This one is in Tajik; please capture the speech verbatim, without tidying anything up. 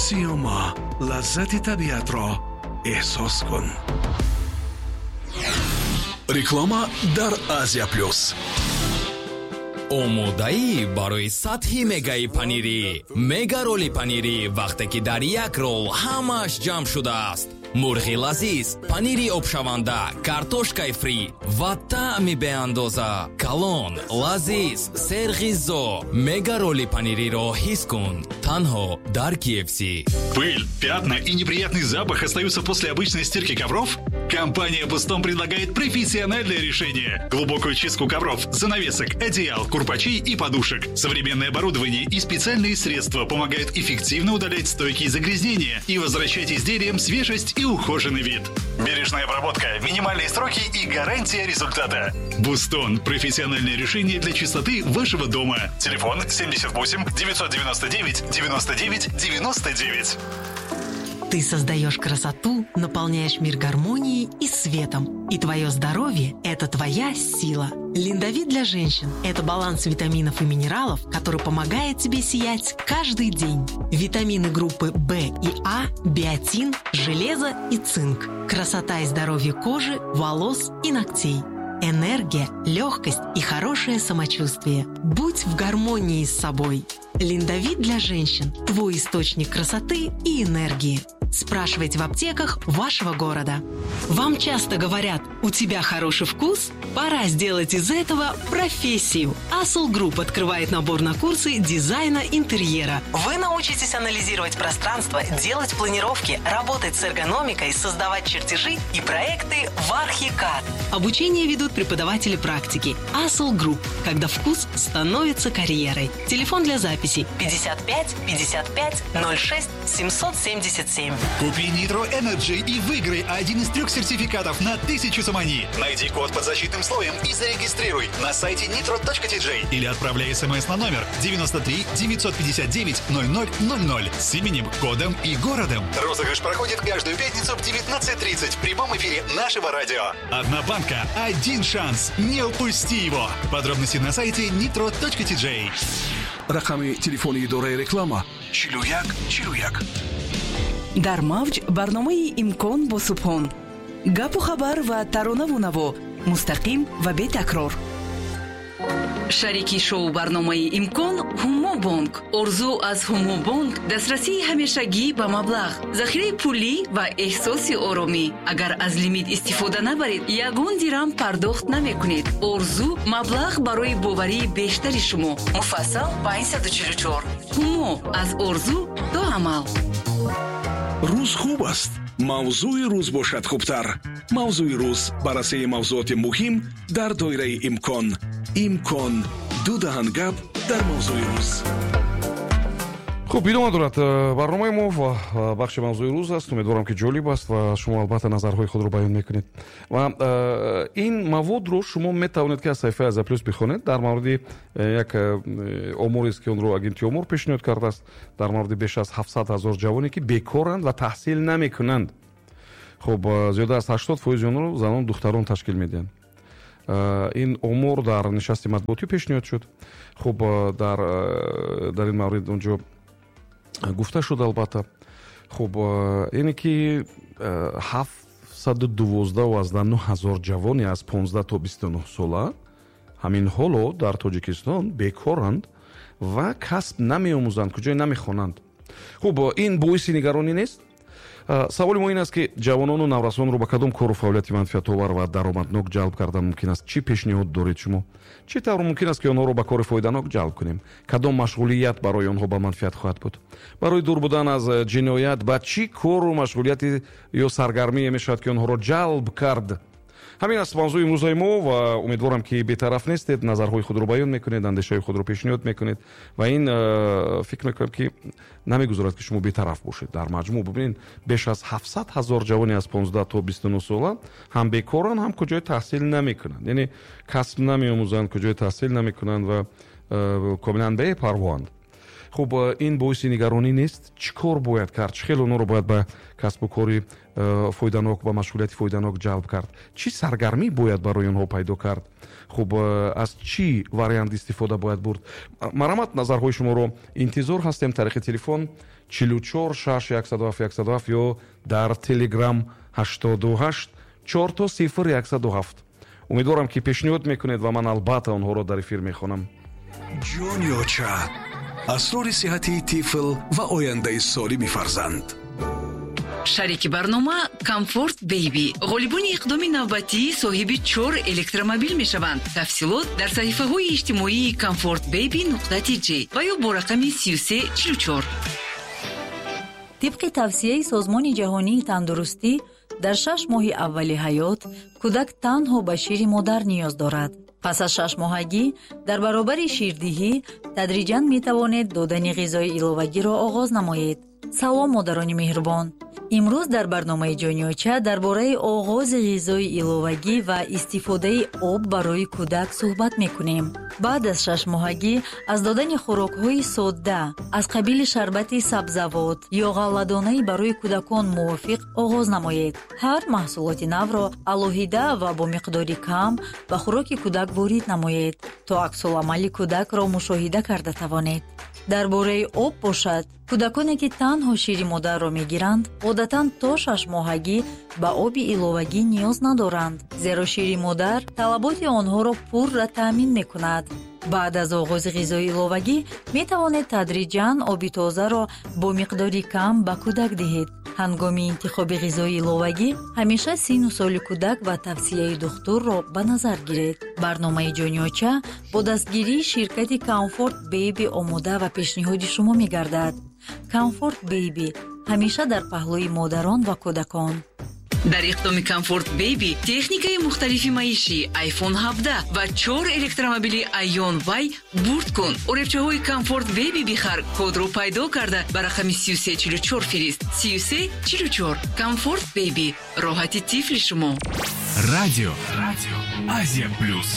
Сиёма, лаззати табиатро эҳсос кун. Реклама дар Азия Плюс. Омодаӣ барои сатҳи мегаи панирӣ. Мега роли панирӣ, вақте ки дар як рол ҳамааш ҷамъ шудааст: мурғи лазиз, панири обшаванда, картошкаи фри ва таъми беандоза. Калон, лазиз, серғизо. Мега роли панириро ҳис кун танҳо дар K F C. Пыль, пятна и неприятный запах остаются после обычной стирки ковров? Компания «Бустон» предлагает профессиональное решение. Глубокую чистку ковров, занавесок, одеял, курпачей и подушек. Современное оборудование и специальные средства помогают эффективно удалять стойкие загрязнения и возвращать изделиям свежесть и ухоженный вид. Бережная обработка, минимальные сроки и гарантия результата. «Бустон» – профессиональное решение для чистоты вашего дома. Телефон семьдесят восемь девятьсот девяносто девять девяносто девять девяносто девять. Ты создаешь красоту, наполняешь мир гармонией и светом. И твое здоровье – это твоя сила. Линдовит для женщин – это баланс витаминов и минералов, который помогает тебе сиять каждый день. Витамины группы В и А, биотин, железо и цинк. Красота и здоровье кожи, волос и ногтей. Энергия, легкость и хорошее самочувствие. Будь в гармонии с собой. Линдовит для женщин – твой источник красоты и энергии. Спрашивайте в аптеках вашего города. Вам часто говорят: «У тебя хороший вкус»? Пора сделать из этого профессию. Асул Групп открывает набор на курсы дизайна интерьера. Вы научитесь анализировать пространство, делать планировки, работать с эргономикой, создавать чертежи и проекты в ArchiCAD. Обучение ведут преподаватели практики. Асул Групп. Когда вкус становится карьерой. Телефон для записи пятьдесят пять пятьдесят пять ноль шесть семьсот семьдесят семь. Купи Nitro Energy и выиграй один из трех сертификатов на тысячу сомони. Найди код под защитным слоем и зарегистрируй на сайте nitro точка T J или отправляй смс на номер девяносто три девятьсот пятьдесят девять ноль ноль ноль ноль с именем, кодом и городом. Розыгрыш проходит каждую пятницу в девятнадцать тридцать в прямом эфире нашего радио. Одна банка, один шанс. Не упусти его. Подробности на сайте nitro точка T J. Рақами телефони идораи реклама чилу як чилу як. Дар мавҷ барномаи «Имкон» бо Субҳон. Гапу хабар ва таронаву наво мустақим ва бетакрор. Шарики шоу барномаи «Имкон» Ҳумо Бонк. Орзу аз Ҳумо Бонк: дастрасии ҳамешагӣ ба маблағ, захираи пулӣ ва эҳсоси оромӣ. Агар аз лимит истифода набаред, ягон дирам пардохт намекунед. Орзу: маблағ барои боварии бештари шумо. Муфассал панҷсаду чилу чор. Ҳумо: аз орзу то амал. Рӯз хуб аст, мавзӯи рӯз бошад хубтар. «Мавзӯи рӯз», баррасии мавзӯоти муҳим дар доираи имкон. «Имкон», ду даҳан гап дар мавзӯи рӯз. Хуб, идома дорад э, барномаи мо ва э, бахши «Мавзӯи рӯз» аст. Умедворам, ки ҷолиб аст ва шумо албатта назарҳои худро баён мекунед ва э, ин маводро шумо метавонед, ки аз саҳифаи Азия Плюс бихонед. Дар мавриди як оморест, ки онро агентии омор пешниҳод кардааст, дар мавриди беш аз ҳафтсад ҳазор ҷавоне, ки бекоранд ва таҳсил намекунанд. Хуб, зиёда аз ҳаштод фоизи онро занон, духтарон ташкил медиҳанд. Ин омор дар нишасти матбуотӣ пешниҳод шуд. Хуб, дар дар ин маврид онҷо гуфта шуд албатта. Хуб, яъне ки ҳафтсаду дувоздаҳу аздаҳ нӯҳ ҳазор ҷавоне аз понздаҳ то бисту нӯҳ сола ҳамин ҳоло дар Тоҷикистон бекоранд ва касб намеомӯзанд, куҷое намехонанд. Хуб, ин боиси нигаронӣ нест? Саволи мо ин аст, ки ҷавонону наврасонро ба кадом кору фаъолияти манфиатовар ва даромаднок ҷалб кардан мумкин аст? Чӣ пешниҳод доред шумо? Чӣ тавр мумкин аст, ки онҳоро ба кори фоиданок ҷалб кунем? Кадом машғулият барои онҳо ба манфиат хоҳад буд? Барои дур будан аз ҷиноят ба чӣ кору машғулияти ё саргармие мешавад, ки онҳоро ҷалб кард? Ҳамин аст мавзӯи имрӯзаи мо ва умедворам, ки бетараф нестед, назарҳои худро баён мекунед, андешаҳои худро пешниҳод мекунед ва ин э, фикр мекунам, ки намегузорад, ки шумо бетараф бошед. Дар маҷмӯъ бибинед, беш аз ҳафтсад ҳазор ҷавоне аз понздаҳ то бисту нӯҳ сола ҳам бекоранд, ҳам куҷое таҳсил намекунанд, яъне касб намеомӯзанд, куҷое таҳсил намекунанд ва э, комилан бепарвоанд. Хуб, ин боиси нигаронӣ нест? Чӣ кор бояд кард? Чӣ хел онҳоро бояд ба касбу кори фоиданок, ба машғулияти фоиданок ҷалб кард? Чӣ саргармӣ бояд барои онҳо пайдо кард? Хуб, аз чӣ вариант истифода бояд бурд? Марҳамат, назарҳои шуморо интизор ҳастем тариқи телефон чилу чор шаш яксаду ҳафт яксаду ҳафт ё дар телеграм ҳаштоду ҳашт чор то сифр яксаду ҳафт. Умедворам, ки пешниҳод мекунед ва ман албатта онҳоро дар эфир мехонам. Ҷони оча, асрори сиҳатии тифл ва ояндаи солими фарзанд. Шарики барнома Комфорт Бейби. Ғолибони иқдоми навбатӣ соҳиби чор электромобил мешаванд. Тафсилот дар саҳифаҳои иҷтимоии Комфорт Бейби нуқта тж ва ё бо рақами сию се чилу чор. Тибқи тавсияи Созмони Ҷаҳонии Тандурустӣ, дар шаш моҳи аввали ҳаёт кӯдак танҳо ба шири модар ниёз дорад. Пас аз шашмоҳагӣ дар баробари ширдиҳӣ тадриҷан метавонед додани ғизои иловагиро оғоз намоед. Салом, модарони меҳрубон! Имрӯз дар барномаи Ҷониоча дар бораи оғози ғизои иловагӣ ва истифодаи об барои кӯдак суҳбат мекунем. Баъд аз шашмоҳагӣ аз додани хӯрокҳои содда аз қабили шарбати сабзавот ё ғалладонаи барои кӯдакон мувофиқ оғоз намоед. Ҳар маҳсулоти навро алоҳида ва бо миқдори кам ба хӯроки кӯдак ворид намоед, то аксуламали кӯдакро мушоҳида карда тавонед. Дар бораи об бошад, кӯдаконе ки танҳо шири модарро мегиранд, одатан то шашмоҳагӣ ба оби иловагӣ ниёз надоранд, зеро шири модар талаботи онҳоро пурра таъмин мекунад. Баъд аз оғози ғизои иловагӣ метавонед тадриҷан оби тозаро бо миқдори кам ба кӯдак диҳед. Ҳангоми интихоби ғизои иловагӣ ҳамеша синну соли кӯдак ва тавсияи духтурро ба назар гиред. Барномаи Ҷониоча бо дастгирии ширкати Комфорт Бейби омода ва пешниҳоди шумо мегардад. Комфорт Бейби ҳамеша дар паҳлӯи модарон ва кӯдакон. Дар иқдоми Комфорт Бейби техникаи мухталифи маишӣ, iPhone ҳабдаҳ ва чор электромобили Ion Y бурд кун. Оребчаҳои Комфорт Бейби бихар, кодро пайдо карда ба рақами сию се чилу чор фирист. Сию се чилу чор. Комфорт Бейби. Роҳати тифли шумо. Радио. Радио. Азия Плюс.